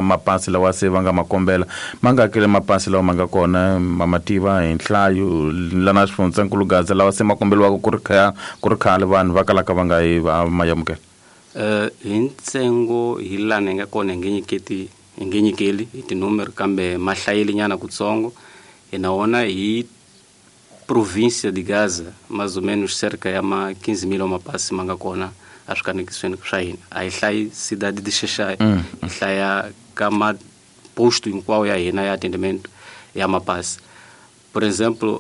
mapasi lawa se va nga ma kombela ma nga kele mapasi lawa ma nga kona ma ma tiva hi nhlayo lana xifundzankulu Gaza lawa se ma kombeliwaka ku ri khale vanhu va kalaka va nga yi va ma amukela. Hi ntsengo hi lana hi nga kona hi nge nyiketi hi nge nyikeli hi tinumero kambe ma hlayile nyana kutsongo hi na wona hi província de Gaza mais ou menos cerca ya ma 15 mil mapasi ma nga kona eswikanekisweni swa hina. A hi hlayi cidade de Xexai, hi hlaya ka maposto hinkwawo ya hina ya atendimento ya mapasi. Por exemplo,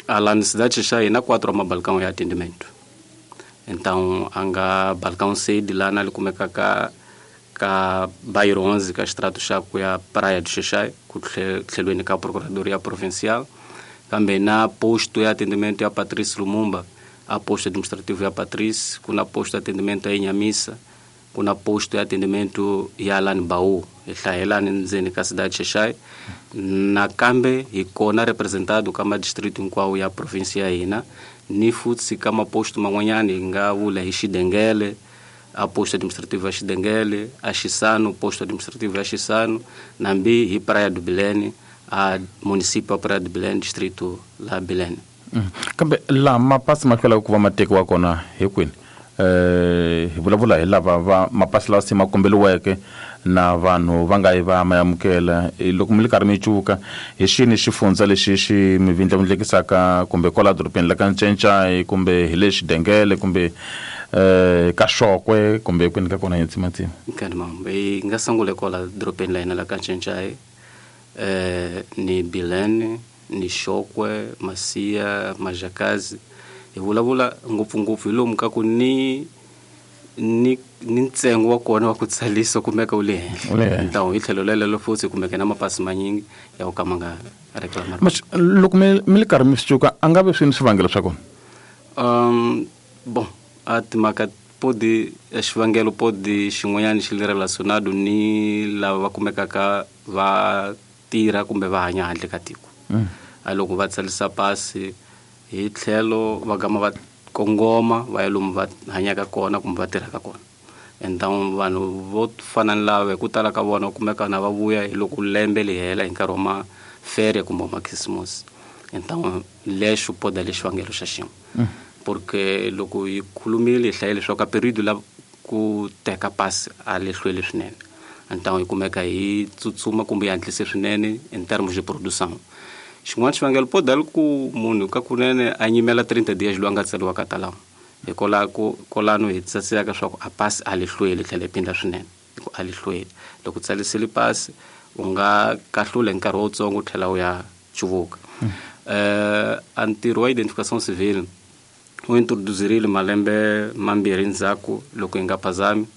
lá na cidade de Xexai na quatro mabalcão ya atendimento. Então a nga balcão sede lá na kumeka ka bairro 11 ka extrato xa ku ya praia de Xexai ku tlhelweni ka procuradoria provincial, kambe na posto ya atendimento ya Patrício Lumumba, a posto administrativo ya Patrício, ku na posto de atendimento ya Inhamissa, ku na posto ya atendimento ya Lani Baú, hi hlayelani ndzeni ka cidade Xexai. Nakambe hi kona representado ka madistrito hinkwawo ya província ya hina ni futhi ka maposto man'wanyana hi nga vula hi Xidengele, a posto administrativo ya Xidengele, a Xisano, posto administrativo ya Xisano, nambi hi Praia do Bilene, a município ya Praia do Bilene, distrito la Bilene. Kambe laha mapasi ma hlwelaka ku va ma tekiwa kona hi kwini? Hi vulavula hi lava va mapasi lawa se ma kombeliweke na vanhu va nga yi va ma amukela. Loko mi ri karhi mi cuka hi xini xifundza lexi xi mi vindlavindlekisaka kumbe kwala dorobeni la ka Ncencai kumbe hi le Xidengele kumbe ka Xokwe kumbe kwini ka kona hi ntsimatsima? Nkani mambo hi nga sungula kwala dorobeni la hina la ka Ncencai, ni Bilene, ni Xokwe, Masia, Majakazi. Hi vulavula ngopfungopfu hi lomu ka ku ni ntsengo wa kona wa ku tsarisa kumeka wu le henhla. Então hi tlhelo lelelo futhi kumeka na mapasi manyingi ya ku ka ma nga reclamar. Loko mi ri karhi mi swi cuka a nga ve swini swivangelo swa kona? Bon, a timhaka podi xivangelo podi xin'wanyana xi le relacionado ni lava va kumekaka va tirha kumbe va hanya handle ka tiko. A loko va tsarisa pasi hi tlhelo va gama va kongoma va ya lomu va hanyaka kona kumbe va tirhaka kona. Então vanhu vo fana ni lava hi ku tala ka vona kumeka na va vuya hi loko lembe li hela hi nkarhi wa mafere kumbe wa makhisimusi. Então lexo poda le xivangelo xa xin'we, porque loko hi khulumile hi hlayile leswaku ka period la ku teka pasi a le hlweli swinene. Então hi kumeka hi tsutsuma kumbe hi hatlise swinene in terms de produção. Xin'wana xivangelo poda li ku munhu ka kunene a nyimela 30 dias loyi a nga tsariwa ka talamo hikwalaho kolano hi tsasiyaka swa ku a pasi a li hlweli tlhela hi phinda swinene hi ku a li hlweli. Loko u tsarisile pasi u nga kahlula hi nkarhi wutsongo u tlhela u ya cuvuka. A ntirho wa identification civil wu introduzirile malembe mambirhi ndzhaku loko hi nga phazami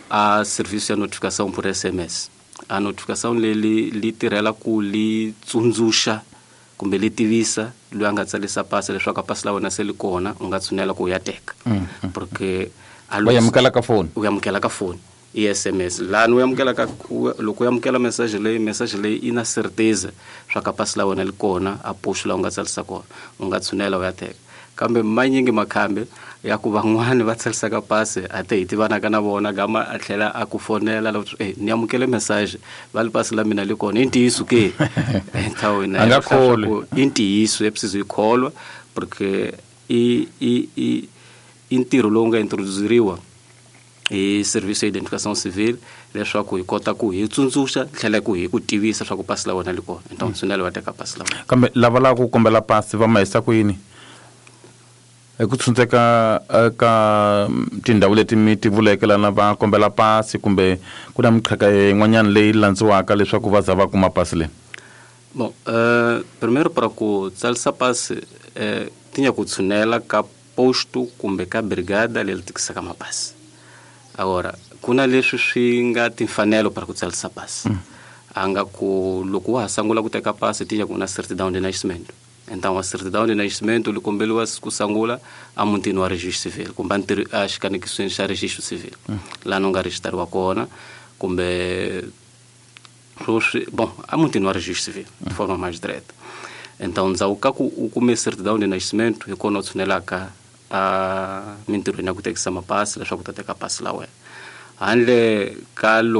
a service ya notification por SMS. A notification leyi li tirhela ku li tsundzuxa kumbe li tivisa loyi a nga tsarisa pasi leswaku a pasi la wena se li kona, u nga tshunela ku u ya teka, porque Va amukela ka foni. U amukela ka foni i SMS lani u amukela ka loko u amukela message leyi, message leyi i na certeza swa ka pasi la wena li kona a posto la u nga tsarisa kona, u nga tshunela u ya teka. Kambe manyingi makhambi ya ku van'wani va tsarisaka pasi a te hi tivanaka na vona gama a tlhela a ku fonela la ni amukele message va li pasi la mina li kona, i ntiyiso ke? Então A nga kholwi. I ntiyiso, é preciso i kholwa porque i ntirho lowu nga introduceriwa hi service ya identification civil leswaku hi kota ku hi tsundzuxa tlhela ku hi ku tivisa swa ku pasi la wena li kona. Então tshunela va teka pasi la wena. Kambe lava lavaka ku kombela pasi va ma yisa ku yini hi ku tshundzeka ka tindhawu leti mi ti vuleke lana va kombela pasi kumbe ku na miqhaka yin'wanyana leyi landziwaka leswaku va za va kuma pasi leyi? Bom, primeiro para ku tsarisa pasi, tinha ku tshunela ka posto kumbe ka brigada leri tikisaka mapasi. Agora ku na leswi swi nga timfanelo para ku tsarisa pasi. A nga ku loko wa ha sungula ku teka pasi tinha ku na certidão de nascimento. Então a certidão de nascimento li kombeliwa ku sungula a mutini wa registro civil kumbe a xikanekisweni xa registro civil laha u nga registrariwa kona kumbe swoswi bon a mutini wa registro civil de forma mais direta. Então ndzhaku ka ku u kume certidão de nascimento hi kona u tshunelaka a mintirhweni ya ku tekisa mapasi leswaku u ta teka pasi la wena handle ka.